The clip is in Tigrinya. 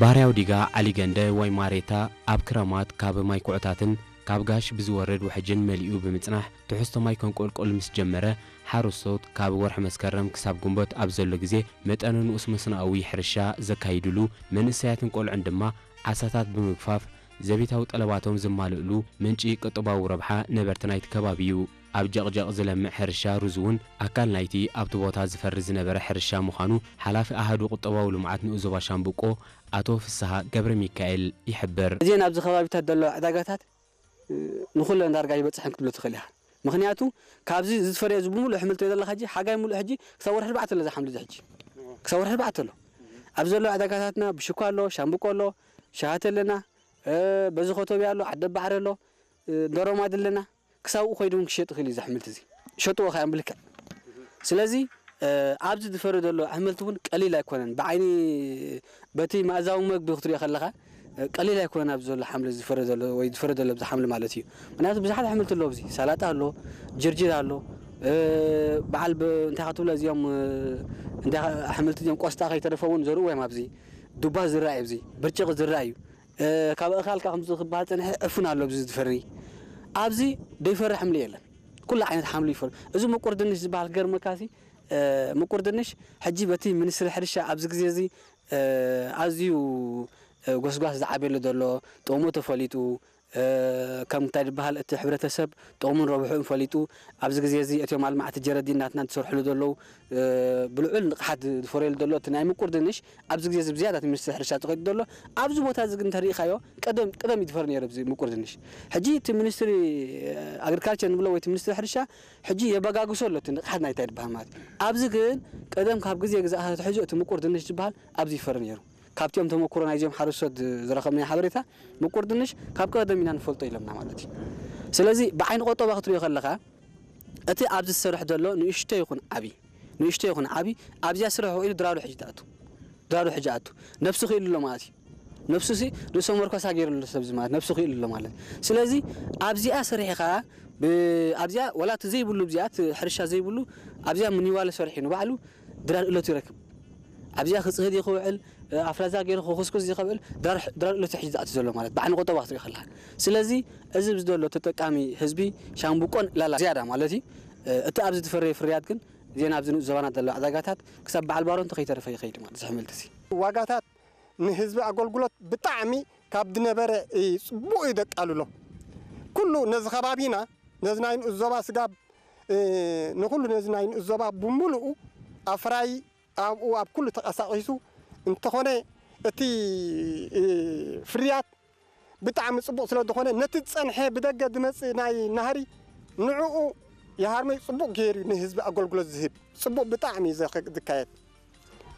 ባህርያዊ ዲጋ ዓሊገንደ ወይ ማሬታ ኣብ ክረማት ካብ ማይ ኩዕታትን ካብ ጋሽ ብዝወርድ ውሕጅን መሊኡ ብምጽናሕ ትሕዝቶ ማይ ከንቆልቆል ምስ ጀመረ፣ ሓረስቶት ካብ ወርሒ መስከረም ክሳብ ግንቦት ኣብ ዘሎ ግዜ መጠኑ ንኡስ መስኖኣዊ ሕርሻ ዘካይድሉ፣ መንእሰያትን ቆልዑን ድማ ዓሳታት ብምግፋፍ ዘቤታዊ ጠለባቶም ዘማልእሉ ምንጪ ቁጠባዊ ረብሓ ነበርቲ ናይቲ ከባቢ እዩ። ኣብ ጀቕጀቕ ዝለምዕ ሕርሻ ሩዝ እውን ኣካል ናይቲ ኣብቲ ቦታ ዝፈሪ ዝነበረ ሕርሻ ምዃኑ ሓላፊ ኣሃዱ ቁጠባዊ ልምዓት ንኡስ ዞባ ሻምብቆ ኣቶ ፍስሃ ገብረ ሚካኤል ይሕብር። እዚአን ኣብዚ ከባቢታት ዘለዋ ዕዳጋታት፣ እ፣ ንኹለን ዳርጋ ይበጽሐን ክትብሎ ትኽእል ኢኻ። ምኽንያቱ ካብዚ ዝተፈረየ እዚ ብምሉእ ኣሕምልቲ ዘለኻ ሕጂ ሓጋይ ምሉእ ሕጂ ክሳብ ወርሒ ኣርባዕተ ኣሎ ዝሓምሉ እዚ ሕጂ። ክሳብ ወርሒ ኣርባዕተ ኣሎ። ኣብ ዘለዋ ዕዳጋታትና ብሽኳ ኣሎ፣ ሻምብቆ ኣሎ፣ ሸሃተ ኣለና፣ እ፣ በዚ ኮቶብያ ኣሎ፣ ዓዲ ባሕሪ ኣሎ፣ እ፣ ዶሮማድ ኣለና። ክሳብ ኣብኡ ከይዱ እውን ክሸጥ ይኽእል እዩ እዚ ኣሕምልቲ እዚ። ይሸጥዎ ከኣ እዮም ብልክዕ። ስለዚ፣ እ፣ ኣብዚ ዝፈሪ ዘሎ ኣሕምልቲ እውን ቀሊል ኣይኮነን። ብዓይኒ በቲ መኣዛዊ መግቢ ክትሪኦ ከለኻ፣ እ፣ ቀሊል ኣይኮነን ኣብዚ ዘሎ ሓምሊ ዝፈሪ ዘሎ ወይ ዝፈሪ ዘሎ ኣብዚ ሓምሊ ማለት እዩ። ምኽንያቱ ብዙሓት ኣሕምልቲ ኣለዎ ኣብዚ። ሰላጣ ኣሎ፣ ጅርጅር ኣሎ፣ እ፣ በዓል ብ-፣ እንታይ ክትብሎ እዚኦም፣ እ፣ እንታይ ኣሕምልቲ እዚኦም ቆስጣ ከይተረፈ እውን ዘርእዎ እዮም ኣብዚ። ዱባ ዝረኣይ ኣብዚ፣ ብርጭቕ ዝረኣይ እዩ። እ፣ ካብ ኣእኻል ከኣ ከምዚ ክበሃል ጸኒሐ ዕፉን ኣሎ ኣብዚ ዝፈሪ። ኣብዚ ዘይፈሪ ሓምሊ የለን። ኩሉ ዓይነት ሓምሊ ይፈሪ። እዚ ምቁር ድንሽ ዝበሃል ክገርመካሲ፣ እ፣ ምቁር ድንሽ ሕጂ በቲ ሚኒስትሪ ሕርሻ ኣብዚ ግዜ እዚ፣ እ፣ ኣዝዩ፣ እ፣ ጎስጓስ ዝዓብየሉ ዘሎ፣ ጥቕሙ ተፈሊጡ፣ እ፣ ከም እንታይ ዝበሃል እቲ ሕብረተሰብ ጥቕሙን ረብሕኡን ፈሊጡ፣ ኣብዚ ግዜ እዚ እቶም ኣልማዕቲ ጀረዲን ናትና ዝሰርሕሉ ዘለዉ፣ እ፣ ብልዑል ንቕሓት ዝፈርየሉ ዘሎ እቲ ናይ ምቁር ድንሽ ኣብዚ ግዜ እዚ ብዝያዳ እቲ ሚኒስትሪ ሕርሻ ተኸይዱ ዘሎ። ኣብዚ ቦታ እዚ ግን እንተሪኢኻዮ ቀደም፣ ቀደም እዩ ዝፈሪ ነይሩ ኣብዚ ምቁር ድንሽ። ሕጂ እቲ ሚኒስትሪ ኣግሪካልቸር ንብሎ ወይ እቲ ሚኒስትሪ ሕርሻ ሕጂ የበጋግሶ ኣሎ እቲ ንቕሓት ናይታ ዝበሃል ማለት እዩ። ኣብዚ ግን ቀደም ካብ ግዜ ግዛእ ኣትሒዙ እቲ ምቁር ድንሽ ዝበሃል ኣብዚ ይፈሪ ነይሩ። ካብቲኦም ተመኩሮ ናይዚኦም ሓረስቶት ዝረኸብናዮ ሓበሬታ ምቁር ድንሽ ካብ ቀደም ኢና ንፈልጦ ኢሎምና ማለት እዩ። ስለዚ ብዓይኒ ቆጠባ ክትሪኦ ከለኻ እቲ ኣብዚ ዝሰርሕ ዘሎ ንእሽቶ ይኹን ዓቢ፣ ንእሽቶ ይኹን ዓቢ ኣብዚኣ ስራሕ ውዒሉ ድራሩ ሕጂ ትኣቱ። ድራሩ ሕጂ ኣቱ። ነብሱ ክኢሉ ኣሎ ማለት እዩ። ነብሱ ሲ ርእሰ መርኮሳ ገይሩ ኣሎ ሰብ እዚ ማለት ነብሱ ክኢሉ ኣሎ ማለት። ስለዚ ኣብዚኣ ሰሪሕኻ ብ-፣ ኣብዚኣ ወላ እቲ ዘይብሉ ኣብዚኣ እቲ ሕርሻ ዘይብሉ ኣብዚኣ ምኒዋለ ሰሪሑ ንባዕሉ ድራር እለቱ ይረክብ። ኣብዚኣ ክጽህድ እዩ ክውዕል፣ እ፣ ኣፍላዛ ገይሩ ክኹስኩስ እዩ ክውዕል ድራር፣ ድራር እለቱ ሕጂ ዝኣቱ ዘሎ ማለት ብዓይኒ ቆጠባ ክትሪኦ ከለኻ። ስለዚ እዚ ኣብዚ ዘሎ ተጠቃሚ ህዝቢ ሻምብቆን ላላ ዝያዳ ማለት እዩ። እ፣ እቲ ኣብዚ ዝፈረየ ፍርያት ግን እዚአን ኣብዚ ንኡስ ዞባና ዘለዋ ዕዳጋታት ክሳብ በዓል ባሮ እንተኸይተረፈ ይኸይድ ማለት እዚ ኣሕምልቲ እዚ። ዋጋታት ንህዝቢ ኣገልግሎት ብጣዕሚ ካብ ዝነበረ እዩ ጽቡቕ እዩ ደቃልሎ። ኩሉ ነዚ ከባቢና፣ ነዚ ናይ ንኡስ ዞባ ስጋብ፣ እ፣ ንኹሉ ነዚ ናይ ንኡስ ዞባ ብምሉኡ ኣፍራይ ኣብኡ ኣብ ኩሉ ተቐሳቒሱ እንተኾነ እቲ፣ እ፣ ፍርያት ብጣዕሚ ጽቡቕ ስለ ዝኾነ ነቲ ዝጸንሐ ብደገ ዝመጽእ ናይ ናህሪ ንዕኡ የሃርመይ ጽቡቕ ገይሩ ንህዝቢ ኣገልግሎት ዝህብ ጽቡቕ ብጣዕሚ እዩ ዘኸ-፣ ዝካየድ።